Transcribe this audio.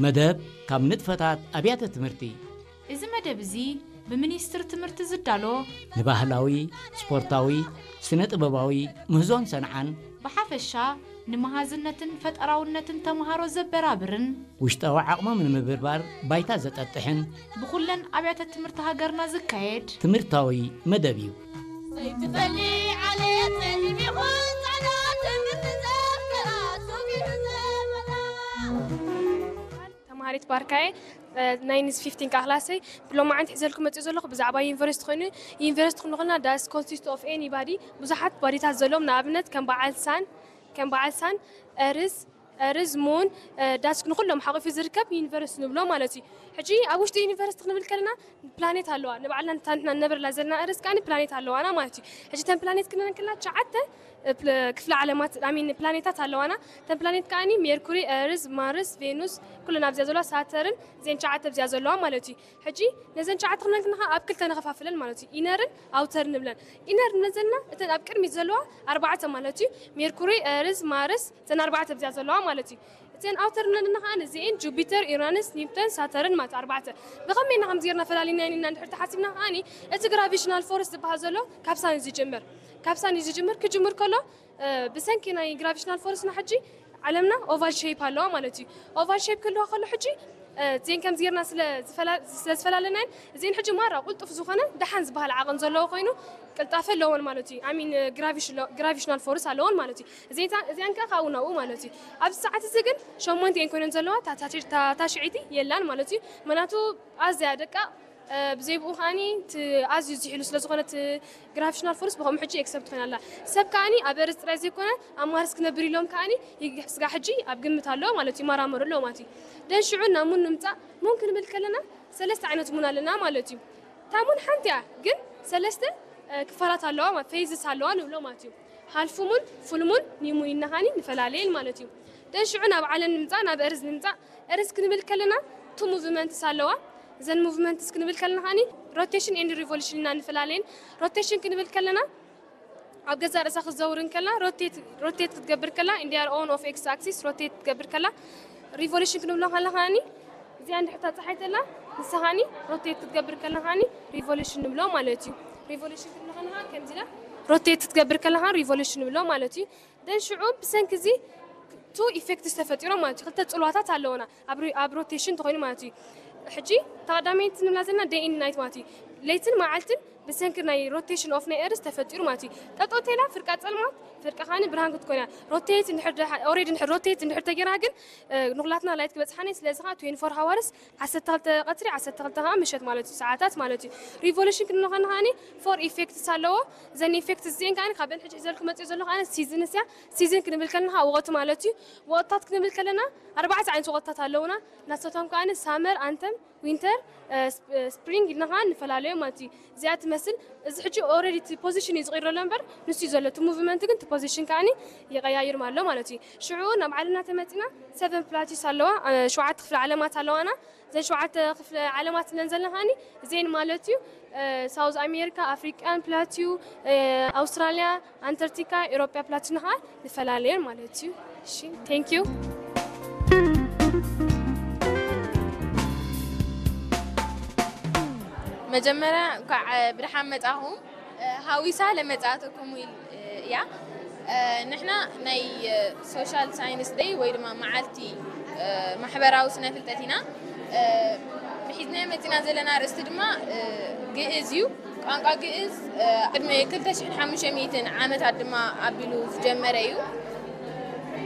መደብ ካብ ንጥፈታት ኣብያተ ትምህርቲ። እዚ መደብ እዚ ብሚኒስትሪ ትምህርቲ ዝዳሎ፣ ንባህላዊ፣ ስፖርታዊ፣ ስነ ጥበባዊ ምህዞን ሰንዓን፣ ብሓፈሻ ንመሃዝነትን ፈጠራውነትን ተምሃሮ ዘበራብርን፣ ውሽጣዊ ዓቕሞም ንምብርባር ባይታ ዘጠጥሕን፣ ብኹለን ኣብያተ ትምህርቲ ሃገርና ዝካየድ ትምህርታዊ መደብ እዩ። ዘይትፈሊ ዓሌት ጸሊም ይኹን ጻዕዳ ትምህርቲ ዘፍቅራ ሱቕ እዩ ዘመና። ተምሃሪት ባርካየ፣ እ፣ ናይ ንዝ ፊፍቲን ክላሰይ ብሎማዓንቲ ሒዘልኩም መፅእ ዘለኹ ብዛዕባ ዩኒቨርሲቲ ኮይኑ፣ ዩኒቨርሲቲ ክንኾና does consist of anybody፣ ብዙሓት ባዲታት ዘለዎም፣ ንኣብነት ከም በዓል ሳን፣ ከም በዓል ሳን፣ እርዝ፣ እርዝ፣ ሙን፣ እ፣ ዳስክ ንኩሎም ሓቂፉ ዝርከብ ዩኒቨርሲቲ ንብሎ ማለት እዩ። ሕጂ ኣብ ውሽጢ ዩኒቨርሲቲ ክንብል ከለና ፕላኔት ኣለዋ። ንባዕልና ንታ ንሕና ንነብረላ ዘለና እርዝ ከኣ ፕላኔት ኣለዋና ማለት እዩ። ሕጂ ተን ፕላኔት ክንብል ከለና ትሽዓተ፣ እ፣ ፕለ-፣ ክፍለ ዓለማት፣ I mean ፕላኔታት ኣለዋና። ተን ፕላኔት ከኣ ሜርኩሪ፣ እርዝ፣ ማርስ፣ ቬኑስ፣ ኩለን ኣብዚኣ ዘለዋ፣ ሳተርን፣ እዚአን ትሽዓተ ኣብዚኣ ዘለዋ ማለት እዩ። ሕጂ ነዘን ትሽዓተ ክንብል ከለና ኣብ ክልተ ንኸፋፍለን ማለት እዩ። ኢነርን ኣውተርን ንብለን። ኢነር ንብለን ዘለና እተን ኣብ ቅድሚት ዘለዋ ኣርባዕተ ማለት እዩ። ሜርኩሪ፣ እርዝ፣ ማርስ፣ እተን ኣርባዕተ ኣብዚኣ ዘለዋ ማለት እዩ። እተን ኣውተር ንብለን ዘለና ከኣ እዚኤን ጁፒተር፣ ዩራንስ፣ ኒፕተን፣ ሳተርን ማለት ኣርባዕተ። ብኸመይ ኢና ከምዚ ጌርና ፈላሊና ኢና እንድሕር ተሓሲብና ከኣ እቲ ግራቪሽናል ፎርስ ዝበሃል ዘሎ ካብ ሳን እዩ ዝጅምር። ካብ ሳን እዩ ዝጅምር። ክጅምር ከሎ፣ እ፣ ብሰንኪ ናይ ግራቪሽናል ፎርስና ሕጂ ዓለምና ኦቫል ሼፕ ኣለዋ ማለት እዩ። ኦቫል ሼፕ ክህልዋ ከሎ ሕጂ፣ እ፣ እዚኤን ከምዚ ጌርና ስለ ዝፈላ-፣ ስለ ዝፈላለናየን እዚኤን ሕጂ ማራ ቁልጡፍ ዝኾነ ደሓን ዝበሃል ዓቐን ዘለዎ ኮይኑ ቅልጣፈ ኣለዎን ማለት እዩ። I mean ግራቪሽናል ፎርስ ኣለዎን ማለት እዩ። እዚኤን፣ እዚኣን ከኣ ካብኡ ናብኡ ማለት እዩ። ኣብዚ ሰዓት እዚ ግን ሸሞንተ እየን ኮይነን ዘለዋ፣ እታ ታሽ-፣ እታ ታሽዐይቲ የላን ማለት እዩ። ምኽንያቱ ኣዝያ ደቃቕ፣ እ፣ ብዘይ ብኡ ከኣኒ እቲ ኣዝዩ ዝሒሉ ስለ ዝኾነ እቲ ግራቪሽናል ፎርስ ብኸምኡ ሕጂ ኤክሰፕት ኮይና ኣላ። ሰብ ከኣኒ ኣብ እርዝ ጥራይ ዘይኮነ ኣብ ማርስ ክነብር ኢሎም ከኣኒ ይግ-፣ ስጋ ሕጂ ኣብ ግምት ኣሎ ማለት እዩ፣ ይመራመሩ ኣለዉ ማለት እዩ። ደን ሽዑ ናብ ሙን ንምጻእ፣ ሙን ክንብል ከለና ሰለስተ ዓይነት ሙን ኣለና ማለት እዩ። እታ ሙን ሓንቲ እያ፣ ግን ሰለስተ፣ እ፣ ክፋላት ኣለዋ ማለት ፌዝስ ኣለዋ ንብሎ ማለት እዩ። ሃልፍ ሙን፣ ፉል ሙን፣ ኒው ሙን ኢልና ከኣኒ ንፈላለየን ማለት እዩ። ደን ሽዑ ናብ ዓለም ንምጻእ፣ ናብ እርዝ ንምጻእ፣ እርዝ ክንብል ከለና ቱ ሙቭመንትስ ኣለዋ። እዘን ሙቭመንትስ ክንብል ከለና ከኣኒ ሮቴሽን ኤንድ ሪቮሉሽን ኢና ንፈላለየን። ሮቴሽን ክንብል ከለና ኣብ ገዛእ ርእሳ ክትዘውር እንከላ፣ ሮቴት፣ ሮቴት ክትገብር ከላ፣ in their own of x axis ሮቴት ክትገብር ከላ፣ ሪቮሉሽን ክንብሎ ከላ ከኣኒ እዚኣ እንድሕር ተጻሓይተላ፣ ንሳ ከኣኒ ሮቴት ክትገብር ከላ ከኣኒ ሪቮሉሽን ንብሎ ማለት እዩ። ሪቮሉሽን ክንብሎ ከላ ከኣ ከምዚ ኢላ ሮቴት ክትገብር ከላ ከኣ ሪቮሉሽን ንብሎ ማለት እዩ። ደን ሽዑ ብሰንኪ እዚ ቱ ኢፌክትስ ተፈጢሮም ማለት እዩ። ክልተ ጽልዋታት ኣለውና ኣብ ሪ-፣ ኣብ ሮቴሽን እንተኾይኑ ማለት እዩ። ሕጂ ተቐዳመይቲ ንብላ ዘለና ደይ ኤንድ ናይት ማለት እዩ። ለይትን መዓልትን ብሰንኪ ናይ ሮቴሽን ኦፍ ናይ ኤርዝ ተፈጢሩ ማለት እዩ። ጠጠው ተላ ፍርቃ ጸልማት፣ ፍርቃ ከኣኒ ብርሃን ክትኮን እያ። ሮቴት እንድሕር ደሓ-፣ ኦሬዲ እንድሕር ሮቴት እንድሕር ተጌራ ግን፣ እ፣ ንኹላትና ላይት ክበጽሓኒ፣ ስለዚ ከኣ ትዌንቲ ፎር ሃወርስ፣ ዓሰርተ ክልተ ቀትሪ፣ ዓሰርተ ክልተ ከኣ ምሸት ማለት እዩ፣ ሰዓታት ማለት እዩ። ሪቮሉሽን ክንብሎ ከለና ከኣኒ ፎር ኢፌክትስ ኣለዎ። እዘን ኢፌክትስ እዚአን ከኣኒ ካብን ሕጂ ሒዘልኩም መጽእ ዘሎ ከኣኒ ሲዝንስ እያ። ሲዝን ክንብል ከለና ከኣ ወቕቲ ማለት እዩ። ወቕትታት ክንብል ከለና ኣርባዕተ ዓይነት ወቕትታት ኣለውና። ናሳቶም ከኣኒ ሳመር፣ ኣንተም፣ ዊንተር፣ እ፣ ስፕ-፣ እ፣ ስፕሪንግ ኢልና ከኣ ንፈላለዮ ማለት እዩ። እዚኣ ትመስል፣ እዚ ሕጂ ኦልሬዲ እቲ ፖዚሽን እዩ ዝቕይሮ ዘሎ እምበር፣ ንሱ እዩ ዘሎ። እቲ ሙቭመንት ግን እቲ ፖዚሽን ከኣኒ ይቐያይር ኣሎ ማለት እዩ። ሽዑ ናብ ዓለምና ተመጺና፣ ሰቨን ፕላቲስ ኣለዋ፣ እ፣ ሸውዓተ ክፍለ ዓለማት ኣለዋና። እዘን ሸውዓተ ክፍለ ዓለማት እለን ዘለና ከኣኒ እዚኤን ማለት እዩ፣ እ፣ ሳውዝ ኣሜሪካ፣ ኣፍሪቃን ፕላቲዩ፣ እ፣ ኣውስትራልያ፣ ኣንተርቲካ፣ ኤሮጳ ፕላቲና ከኣ ንፈላለየን ማለት እዩ። እሺ፣ ቴንክ ዩ። መጀመርያ እንኳዕ ብደሓን መጻኹም። እ፣ ሃዊሳ ለመጻእተኩም ኢል-፣ እ፣ እያ። እ፣ ንሕና ናይ፣ እ፣ ሶሻል ሳይንስ ደይ ወይ ድማ መዓልቲ፣ እ፣ ማሕበራዊ ስነ ፍልጠት ኢና። እ፣ ሒዝናዮ መጺና ዘለና ኣርእስቲ ድማ፣ እ፣ ግእዝ እዩ። ቋንቋ ግእዝ፣ እ፣ ቅድሚ ክልተ ሽሕን ሓሙሽተ ሚእትን ዓመታት ድማ ኣቢሉ ዝጀመረ እዩ።